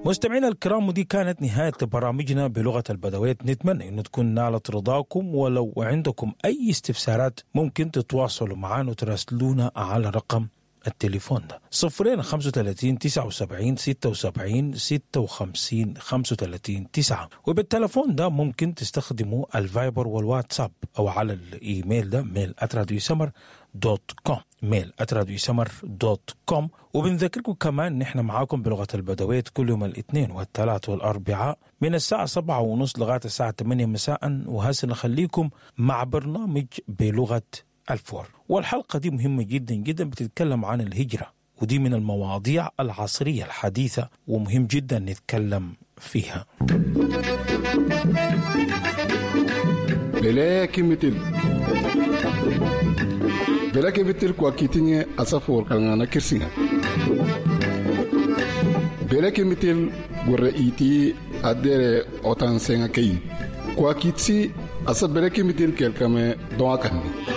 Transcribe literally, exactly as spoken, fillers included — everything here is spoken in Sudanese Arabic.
مستمعينا الكرام، ودي كانت نهاية برامجنا بلغة البدويت. نتمنى أن تكون نالت رضاكم، ولو عندكم أي استفسارات ممكن تتواصلوا معنا وتراسلونا على رقم التليفون ده صفرين خمسة وتلاتين تسعة وسبعين ستة وسبعين ستة وخمسين خمسة وتلاتين تسعة. وبالتلفون ده ممكن تستخدموا الفايبر والواتساب أو على الإيميل ده mail at راديو سمر dot com، mail at راديو سمر dot com. وبنذكركم كمان نحن معاكم بلغة البدويت كل يوم الاثنين والثلاث والأربعاء من الساعة سبعة ونص لغاية الساعة ثمانية مساء. وهسه نخليكم مع برنامج بلغة الفور، والحلقة دي مهمة جدا جدا، بتتكلم عن الهجرة، ودي من المواضيع العصرية الحديثة ومهم جدا نتكلم فيها. بلاكي مثل بلاكي مثل كواكيتيني أسافور كان كرسينا بلاكي مثل غرئيتي أدير أوتان سينكي كواكيتسي أسا بلاكي مثل كالكامي دواكاني.